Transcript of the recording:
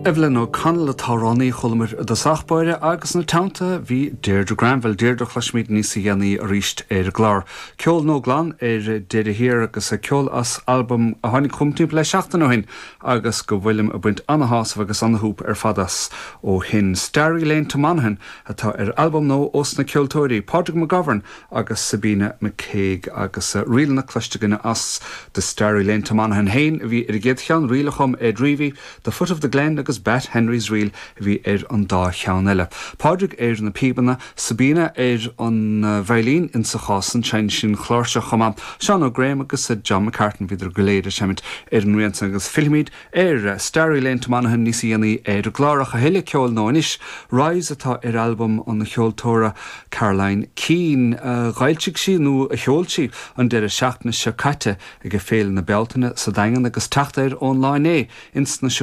Evelyn O'Connell an t-amhránaí a chualamar i dtosach báire agus ina teannta bhí Deirdre Granville, Deirdre a chloisfimid níosa dhéanaí arís ar an gclár. Ceol nua glan ar deireadh thiar agus ceol as albam a tháinig chugam timpeall le seachtain ó shin agus go bhfuilim ag baint ana-shásamh agus ana-shúp ar fad as ó shin. Starry Lane to Monaghan atá ar albam nua ós na ceoltóirí Pádraig McGovern agus Sabina McCague agus ríleanna cloiste againne as The Starry Lane to Monaghan féin a bhí ar an gcéad cheann, ríl a chum Ed Reavy, The Foot of the Glen agus Bat Henry's Reel a bhí ar an dá cheann eile. Pádraig ar na píobanna, Sabina ar an veidhlín, insa chás san, seinneann sí an chláirseach chomh maith, Seán Ó Graham agus John McCartan, bhíodar go léir ag seimint ar an rian san agus fillfimid ar Starry Lane to Monaghan níosa dhéanaí ar an gclár ach a thuilleadh ceoil nua anois, Rise atá ar albam an cheoltóra Caroline Keane a dh'fhoilsigh sí nó a sheol sí an deireadh seachtaine seo caite ag Féile na Bealtaine sa Daingean agus teacht air ón lá inné ins na.